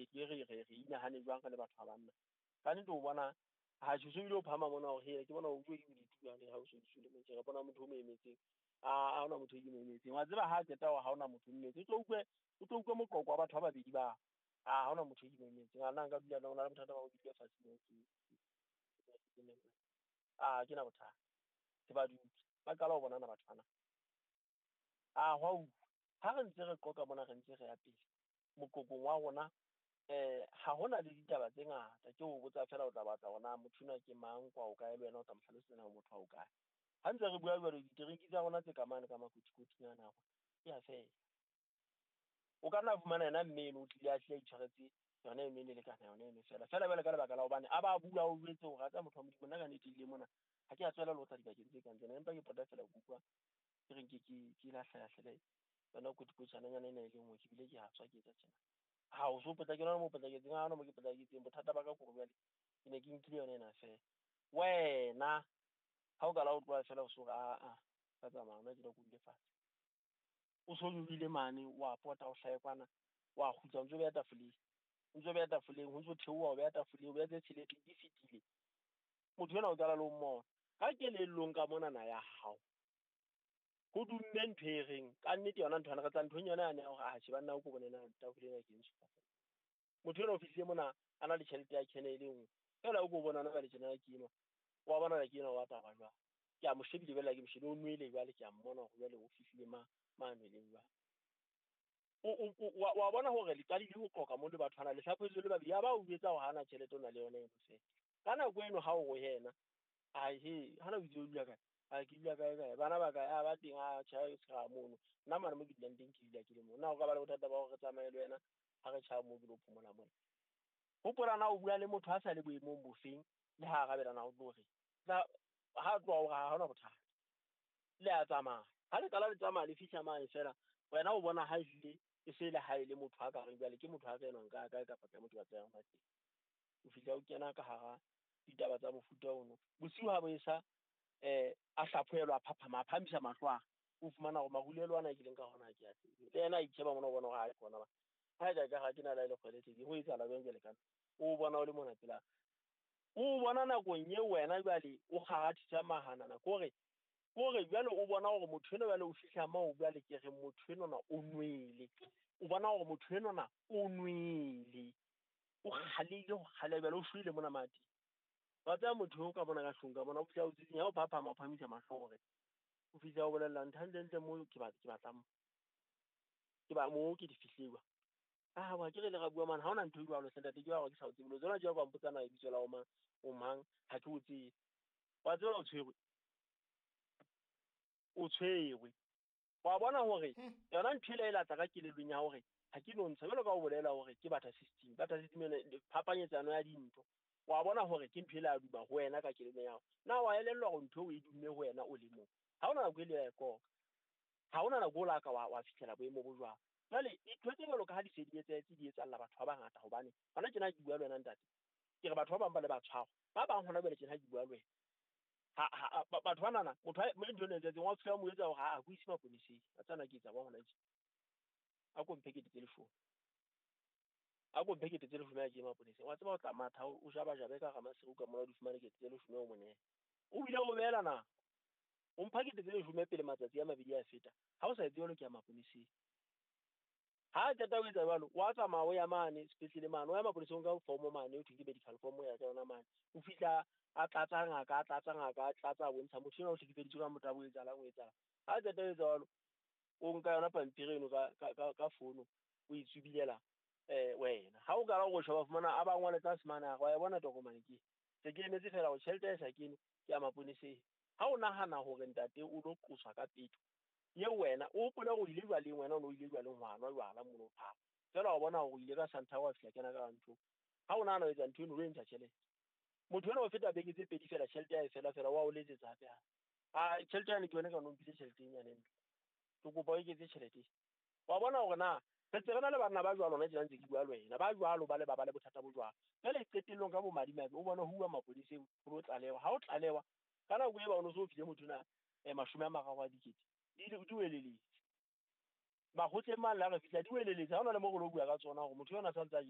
ke re inahane jwang re le batho ba banna. Ka nnete o bona ha so bile o phahama mona hore he ke bona o utlwe ke bodutu jwale ha o so le motho re bona motho o mo emetseng. A ha hona motho e ke mo emetseng. Wa tseba ha qeta hore ha hona motho o mmetse. O tlo utlwe moqoqo wa batho ba babedi ba. A ha hona motho e ke mo emetseng. A nna nka dula le ona le bothata ba ho dula fatshe moo ke. A ke na bothata. Ke ba dutse. Ba qala ho bonana batho bana. A hwa utlwa. Ha re ntse re qoqa mona re ntse re ya pele. Moqoqong wa rona ha hona le ditaba tse ngata ke o botsa fela o tla batla hore na motho enwa ke mang kwa o kae le wena o tla mo hlalosetsa na motho wa o kae. Ha ntse re bua jwalo diterinki tsa rona tse ka mane ka makotikoting ana rona ke a fela. O ka nna fumana yena mme eno o tlile a hlile a itshwaretse yona eno e ne lekana yona eno fela. Fela jwale ka lebaka la hobane a ba bua o jwetse hore a tseba motho wa Modimo nna ka nnete ebile mona ha ke a tswela le ho tla dibakeng tse kang tsena empa ke pota fela ke utlwa ke reng ke lahlelahlele yona kotikotjananyana ena e le nngwe ke bile ke a tswa ke etsa tjena. Ha o so potlakela mo potlaketseng ha hona mo ke potlaketseng bothata ba ka kore jwale ke ne ke nkile yona ena fela. Wena ha o ka la o tloha fela o so re a ka tsamaya hona tjena ke dule fatshe. O so nyolohile mane wa pota o hlahe kwana wa kgutla o ntso beha tafoleng. O ntso beha tafoleng ho ntso theoha o beha tafoleng o beha tse tsheletseng di fetile. Motho enwa o qala le ho mmona. Ka kelellong ka monana ya hao ho dumme ntho e reng ka nnete yona ntho re tla nthong yona yane ya hore atjhe banna o ko bone na tafole ena ke ntsho. Motho enwa o fihlile mona a na le tjhelete ya kene e le nngwe. Fela o ko bona na jwale tjena ke enwa. Wa bona ke enwa wa taba jwale. Ke a mo shebile jwale ke mo shebile o nwele jwale ke a mmona hore jwale o fihlile ma nweleng jwale. Wa bona hore le qadile ho qoqa mo le batho bana le hlaphohetswe le babedi ya ba o jwetsa hore hana tjhelete o na le yona eno fela. Ka nako eno ha o re yena a he hana o itse o dula kae? A ke dula kae kae? Bana ba kae? A ba teng a tjha se mono. Nna mane mo ke dulang teng ke dula ke le mo. Na o ka ba le bothata ba hore re tsamaye le wena ha re tjha mo ke lo phomola mona. Hopola na o bua le motho a sa le boemong bofeng le ha arabela na o tlo re. Ha tloha hore ha hona bothata. Le a tsamaya. Ha le qala le tsamaya le fihla mane fela wena o bona ha ehlile e se le ha e le motho a ka reng jwale ke motho a ka enwang ka kae kapa kae motho ba tsayang ba teng. O fihla o kena ka hara ditaba tsa mofuta ono. Bosiu ha bo esa a hlaphohelwa a phaphama a phahamisa mahlo a o fumana hore marulelo ana a kileng ka hona ke a tsebe. Le yena a itjheba mona o bona hore ha ke ona ba. Ha ka ka ke na le kgwele tse ho etsahala jwang jwale kana. O bona o le mona pela. O bona nakong eo wena jwale o kgarathisa mahanana kore jwale o bona hore motho enwa jwale o fihla moo jwale ke re motho enwa o nwele. O bona hore motho enwa o nwele. O kgalehile ho kgaleha jwale o shwele mona mati. Wa tseba motho o ka bona ka hlong ka bona o fihla o tsitsinya o phaphama o phahamisa mahlo hore o fihla o bolella ntho hantle mo ke batlang ke ba mo ke di fihliwa. Ah wa ke re le ra bua man ha hona ntho e jwalo ntate ke wa ke sa o tsebe lo tsona jwa kwa mpotsa na lebitso la o mang o mang ha ke o tsebe. Wa tseba o tshwerwe. O tshwerwe. Wa bona hore yona ntho e latla ka kelellong ya hore ha ke no ntsha jwalo ka o bolela hore ke batha system yone phapanyetsano ya dintho. Wa bona hore ke ntho e la duma ho wena ka kelellong ya hao. Na wa elellwa hore ntho e dumme ho wena o le mong. Ha hona nako e le ya koka. Ha hona nako o la ka wa fihlela boemo bo jwang. Jwale dintho tse jwalo ka ha di se di etsahetse di etsahalla batho ba bangata hobane hona tjena ke bua le wena ntate. Ke re batho ba bang ba le ba tshwarwa. Ba bang hona jwale tjena ke bua le wena. Ha batho bana motho a ntho ena etseng wa fihla mo etsa hore ha a go ise maponeseng. A tsana ke etsa ba hona tje. A ko mphe kete tse leshome. A ko mphe kete tse leshome a ke maponeseng. Wa tseba o tla matha o jaba jabe ka Ramasero ka mona o di fumane kete tse leshome o mone. O bile o beela na. O mpha kete tse leshome pele matsatsi a mabedi a feta. Ha o sa etse jwalo ke ya maponeseng. Ha qeta ho etsa jwalo wa tsamaya o ya mane sepetlele mane o ya maponeseng ka form mane o thwe ke medical form ya ka yona mane. O fihla a tlatsa ngaka a tlatsa ngaka a tlatsa bontsha motho enwa o hlekefeditswe ka motabo o etsahalang o etsahalang. Ha qeta ho etsa jwalo o nka yona pampiri eno ka fono o e tsubilela wena. Ha o qala ho sheba fumana a ba ngole tlase mane a re wa e bona tokomane ke. Se ke emetse fela hore tjhelete e sa kene ke ya maponeseng. Ha o nahana hore ntate o lo qoswa ka peto ye wena o hopole hore o ile jwaleng wena o no ile jwaleng ho nwa jwala mono phaa. Fela wa bona hore o ile ka Santa wa fihla kena ka ntho. Ha o nahana ho etsa ntho eno o lo ntsha tjhelete. Motho enwa o feta beke tse pedi fela tjhelete ya e fela fela wa o letsetsa hape hape. A tjhelete yane ke yona ka no mphile tjhelete e nyane ntle. Ke kopa o eketse tjhelete. Wa bona hore na re ntse re na le banna ba jwalo hona tjena ntse ke bua le wena. Ba jwalo ba le ba le bothata bo jwalo. Jwale qetellong ka bomadimabe o bona ho uwa maponeseng ho lo tlalewa. Ha o tlalewa ka nako e ba o no so file motho na 30 a dikete. Di weleletse. Makgotleng mane la re fihla di weleletse. Ha hona le mo re lo bua ka tsona hore motho yona sa ntse a